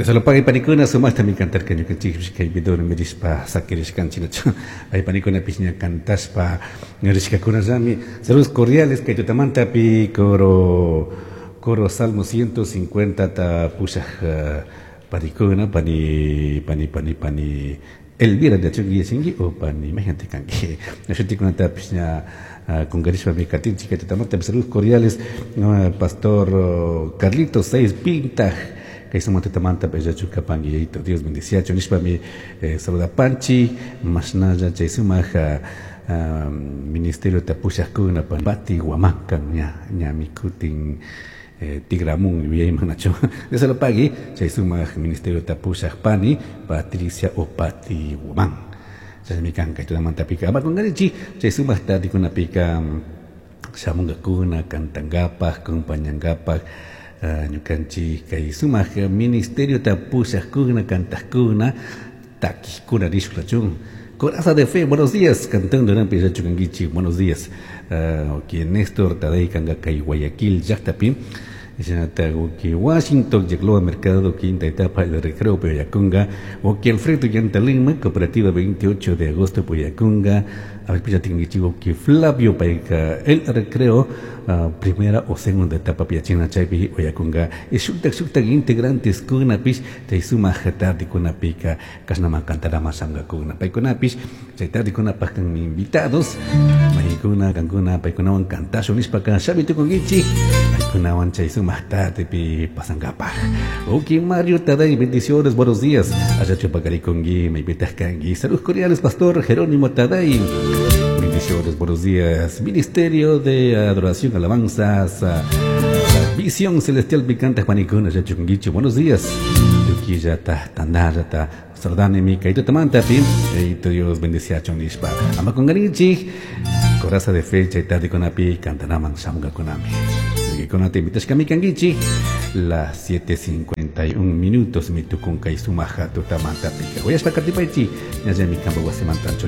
Dios panikuna sumaqtami cantarka ñukanchikpish kay videorami rishpa sakirishkanchik ay panikunapish ña cantashpa rishkakunallami. Saludos cordiales kay tutamantapi coro Salmo 150 ta pushaj panikuna pani pani pani pani Elvira de Achugui o pani imagínate kanki shutikunatapish ña kunkarishpami katinchik kay tutamantapi. Saludos cordiales, pastor Carlitos Seis Pintaj kay sumaq tutamanta yachu kapanki, Yayito Dios bendiciachu nishpami saludapanchik. Mashnalla chay sumaq ministerio pushajkuna Pati Huamankan ña ñami kutin tigramun yuyayman nachu. Dios lo pague chay sumaq ministerio pushaj pani Patricia o Pati Huamán chaymi kan kay tutamantapika. Ama kunqarichik chay sumaq tardikunapika shamunkakuna cantankapaj, acompañankapaj ñukanchik kay sumaq ministerio pushajkuna, cantajkuna, takijkuna rishklachun. Coraza de Fe, buenos días, cantando nampi yachukankichik, buenos días. Okay, Néstor Tadei kanga kay Guayaquil llaqtapi. Shinata uki Washington Yagloa Mercado quinta etapa El Recreo Poyacunga, uki Alfredo Yantalima Cooperativa 28 de agosto Poyacunga, a ver pichatingichi uki Flavio Paica El Recreo primera o segunda etapa Piachina chaypi Oyacunga, y shuktak shuktak integrantes kunapish chay sumaq tardikunapika kashnama cantarama shamkakuna paykunapish chay tardikunapaj kanmi invitados maykuna kankuna paykunawan cantashun nishpaka shami tukunkichik paykunawan chay sumaq tardepi pasankapaj. Ok, Mario Taday, bendiciones, buenos días. Allá chupakarikunki, maypitaq kanki. Saludos cordiales, pastor Jerónimo Taday. Bendiciones, buenos días. Ministerio de Adoración, Alabanzas, Visión Celestial Picante, Juanicuna, allá chukunkichik, buenos días. Tukillata, tandallata, saludani mi kaito tamantapi, eito Dios bendiciachon nishpa. Ama kunqarichik, coraza de fe, chay tardikunapi, cantanaman shamunkakunami. Kunata invitashkami kankichik, las 7:51 minutos mi tukun kay sumaja tutamantapika. Uyashpa katipaychik, ñallami kampa wasimantanchu.